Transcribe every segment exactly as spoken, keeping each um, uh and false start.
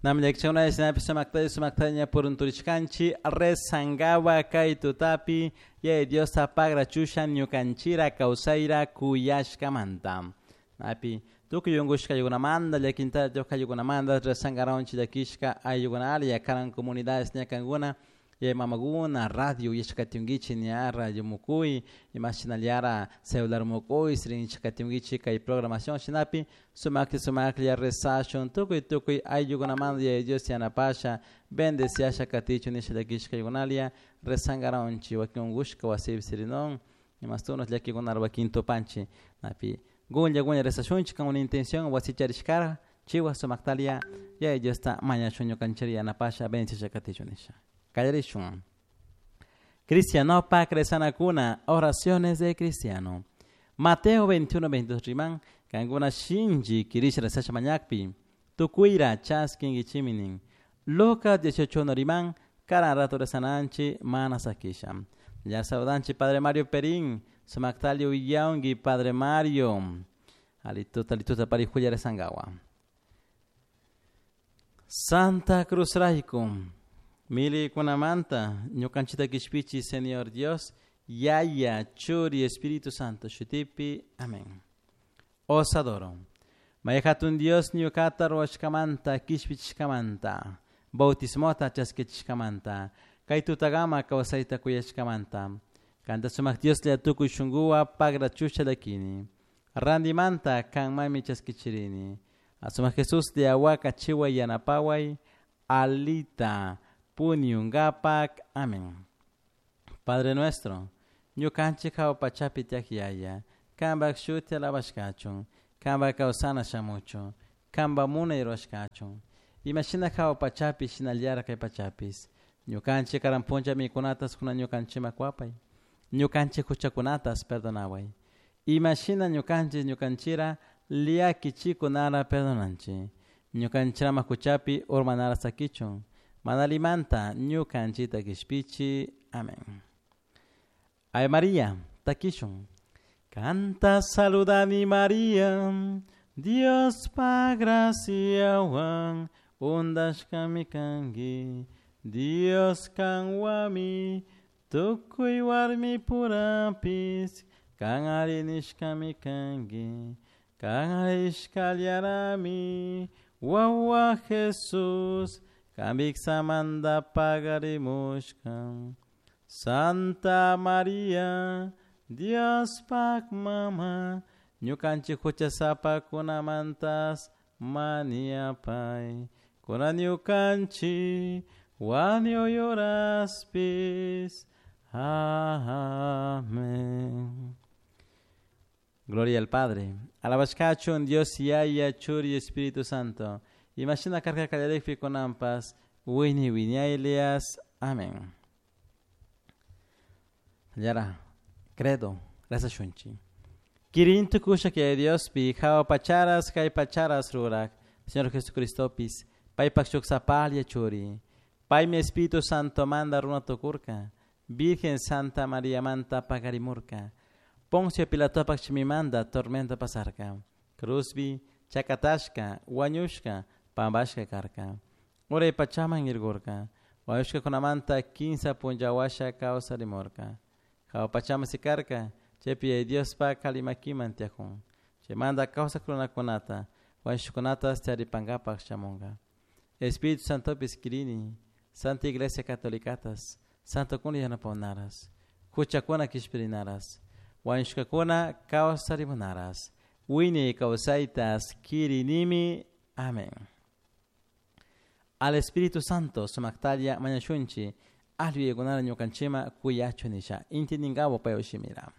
Namllakchakuna shinapish sumaktalla sumaktalla purunturishkanchik rezangawa kay tutapi Yaya Diosta pagrachusha ñukanchira kawsayra kuyashkamanta. Napi tukuy unkushka ayllukunamanta llakinta ayllukunamanta rezangaronchik llakishka ayllukunalla yakaran comunidades ñakankuna yaya mamakuna radio yachakatinkichik ña radio mukuy imashinallara celular mukuy rinchik kay programación shinapi sumaklla sumaklla rezashun tukuy tukuy ayllukunamanta Yaya Dios yanapasha bendeciasha katichun nisha llakishka ayllukunalla rezangaronchik wakin unkushka wasipi sirinon imastuno llakikunara wakin tupanchik napi gulla gulla rezashunchik con una intención wasi charishkara chiwa sumaktalia Yaya Diosta mañashun ñukanchik yanapasha bendeciasha katichun nisha. Kallarishun. Cristianopak rezanakuna, oraciones de cristiano. Mateo veintiuno, veintidós riman, kankuna shinchi kirisha rezasha mañakpi, tukuyra chaskinkichiminin. Lucas dieciocho uno riman, karan rato rezananchi mana sakisha. Ya saludanchi Padre Mario Perín, sumaktalio uyaungi Padre Mario. Alituta, alituta parijuya rezangawa. Santa Cruz Raikum. Mili kunamanta, ñukanchita kishpichi, Señor Dios, Yaya, Churi, Espíritu Santo, Shutipi, amén. Os adoro. Mayhatun Dios ñukata ruwashkamanta, kishpichishkamanta, bautismota chaskichishkamanta, kay tutagama kawsayta kuyashkamanta, kanta sumak Dios la tukuy shunguwa pagrachusha lakini, randimanta kanmami chaskichirini, asumak Jesús de awaka chiwa yanapaway, alita, Puniungapak, amén. Padre nuestro, ñukanchik hawa pachapi tiyak yaya, kanpak shuti alabashkachun, kanpak kawsana shamuchun, kanpak munay rurashkachun. Imashina hawa pachapi shinallara kay pachapis. Ñukanchik karan puncha mikunatas kuna ñukanchikman kuwapay. Ñukanchik huchakunatas perdonaway. Imashina ñukanchik ñukanchira llakichikunara perdonanchik. Ñukanchirama huchapi urmanara sakichun. Manalimanta ñukanchita kishpichi. Amén. Ave María, takishun. Canta saludani María, Dios pa graciawan, undashkami kanki, Dios kanwami, tukuy warmi purapis, kan arinishkami kanki, kan arishkallarami, wawa Jesús, Kamiksamanda pagarimushka. Santa María, Dios pak mama, ñukanchik huchasapa kunamantas maniapay, kuna ñukanchik wañuyuraspis. Amén. Gloria al Padre. Alabashkachun Dios Yaya, Churi, Espíritu Santo. Imagina carga kallarikpi kunanpas, wini wiñaylias. Amén. Yara, credo, rezashunchik. Kirintu kusha que Dios pi, hawa pacharas, kay pacharas rurak, Señor Jesucristo pis, paypak shuk sapalla churi, paymi Espíritu Santo manda runa tukurka, Virgen Santa María manta pagarimurka, Poncio Pilatopak chimimanda tormenta pasarka, Cruzbi, chakatashka, wañushka, pambashka karka, uray pachaman irgurka, wañushka kunamanta kinsa punllawasha kawsarimurka, hawa pachaman sikarka, chaypi Diospa kalimakiman tiyakun, chaymanta kawsak runakunata, wañushkunata taripankapak shamunka. Espíritu Santopis kirini, Santa Iglesia Catolicatas, Santo kuna yanapawnaras, huchakuna kishpirinaras, wañushkakuna kawsarimunaras, wiñay kawsaytas kirinimi. Amén. Al Espíritu Santo sumaktalla mañashunchi, alli ñukanchima kuyachu nisha, intiningawo payushimira.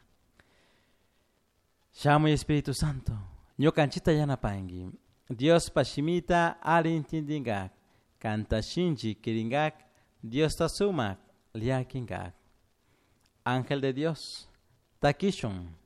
Shamuy Espíritu Santo, ñukanchita yanapanki, Dios pashimita alli intindingak, kanta shinchi kiringak, Dios ta sumak liakinkak. Ángel de Dios, takishun.